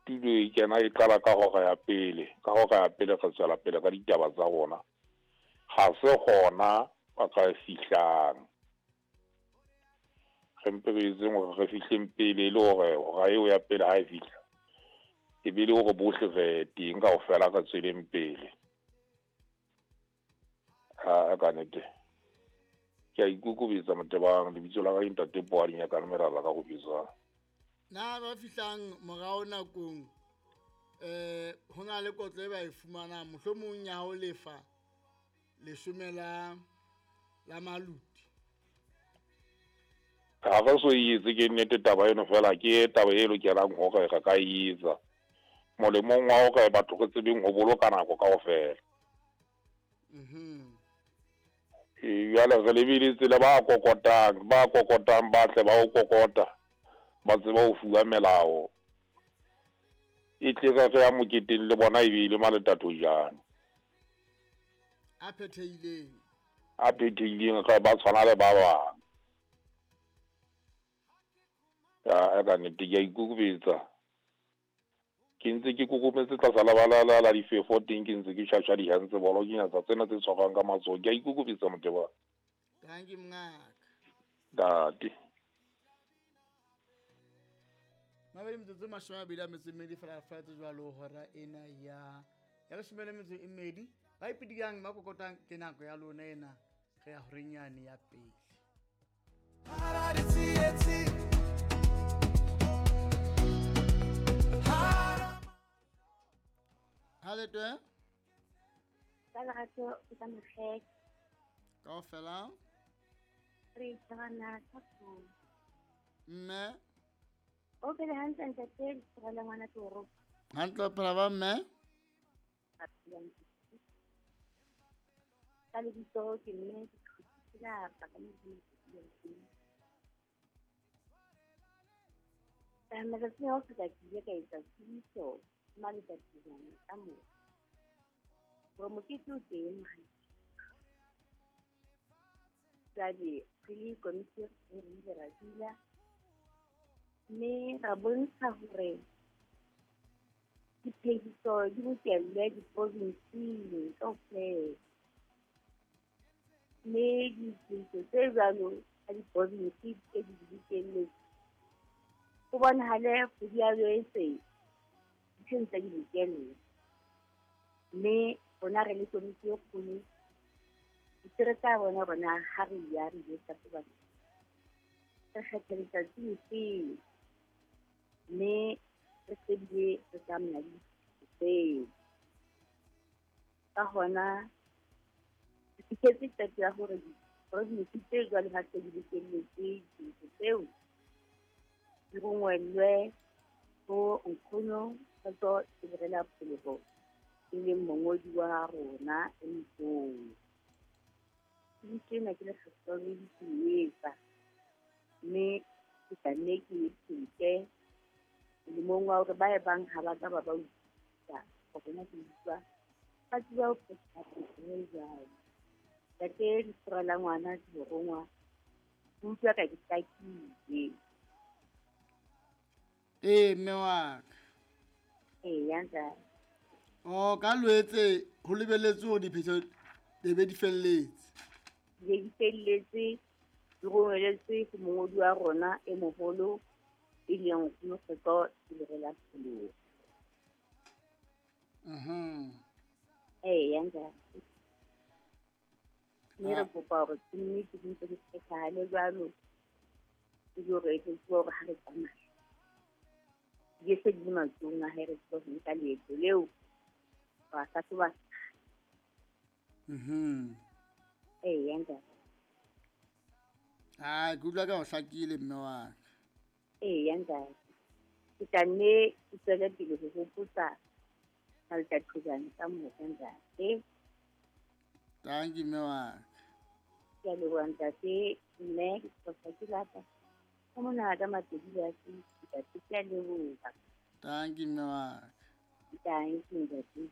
Studio e kena e qala ka hora ya pele, ka hora ya pele re tswela pele ka ditaba tsa rona. Ha se hona ba ka fihlang. Re mpe re etseng hore re fihleng pele e le hore hora eo ya pele ha e fihla, e be le hore bohle re teng kaofela re tsweleng pele. Ha ka nnete. Ke a ikokobetsa Motebang, lebitso la ka ke Ntate Poadi Nyakane Merara ka Rubetsang. Na ba fihlang morao nakong ho na le kotlo e ba e fumanang, mohlomong ya ho lefa leshome la maluti? Ha re so e etse, ke nnete taba eno, fela ke taba e lokelang hore re ka e etsa molemong wa hore batho re tsebeng ho boloka nako kaofela. Jwale re lebeletse le ba kokotang, ba kokotang ba tle ba o kokota, ba tseba ho fuwa melao. E tle re re ya moketeng le bona e be e le maletatojane. A phethehileng. A phethehileng, re ba tshwana le ba bang. Ya ka nnete ke a ikokobetsa. Ke ntse ke kokometse tlasa lebala la difefo teng, ke ntse ke tjhatjha dihantse bolo, ke nyatsa tsena tse tshwarwang ka matsoho. Ke a ikokobetsa Motebang. Thank you mongaka. Ntate. Mabedi metsotso 24 fela fatshe jwalo hora ena ya 12. Ba ipidikang ba kokotang ke nako ya lona ena, re ya horeng yane ya pele. Ha le twe? Ka lerato ke ka mokgeke. Kaofela? Re tshwana ka puo. Mme? O phele hantle ntate, ke la ngwana toro. Hantle o phela ba mme? Ka lebitso ke mme ke la ka mo. Ka matsatsi a ho feta ke ile ka etsa tsebiso maletsatsing ka moo hore mokete o teng. Jwale re le komiti re ile ra dula mme ra bontsha hore diphehiso di bokellwe diprovinsing kaofela, mme diphehiso tse jwalo tsa diprovinsi tse di bokelletswe ho bonahale kgwedi ya Loetse di se ntse di bokellwa. Mme rona re le komiti e kgolo di re tla bona rona ha re ya re ile hlahloba, re kgetha letsatsi lefeng mme re shebile re tsamaya le tseo. Ka hona re fihletse qeto ya hore diprovinsi tse jwalo ha se di bokelletse dintho tseo di rongwellwe ho Nkgono Kgotso Tsheberela Pholoho, e leng mongodi wa rona e moholo. Tsebiso ena ke lekgetlo la bobedi ke e etsa, mme ke tla nne ke e phete molemong wa hore ba e bang ha ba ka ba ba utlwisisa hore na ke utlwa, ba tseba ho phetha e jwalo. Ntate Lesora la ngwana ke morongwa, ke utlwa ka ke hlakile. Ee, mme wa ka. Eya, ntate. Oh, ka Loetse ho lebelletswe hore diphetho di be di felletse. Di be di felletse, di romeletswe ho mongodi wa rona e moholo, e leng Nkgono Kgotso Tsheberela Pholoho. Eya, ntate. Mme re kopa hore ke nnete di ntse di phethahale jwalo, e le hore re tsebe hore ha re tsamaya di se di le matsohong a hae, re tsebe ho nka leeto leo ra hlahloba. Eya, ntate. Ah, ke utlwa ka ho hlakile mme wa ka. Eya, ntate. Ke tla nne ke tswele pele ho hopotsa Maltathojane ka moka, ntate. Thank you, mme wa ka. Ke a leboha ntate, mme ke tlosa ke lata. Ka mona ka Mapedi ba se, ntate, ke a leboha. Thank you, mme wa ka. Thank you, ntate.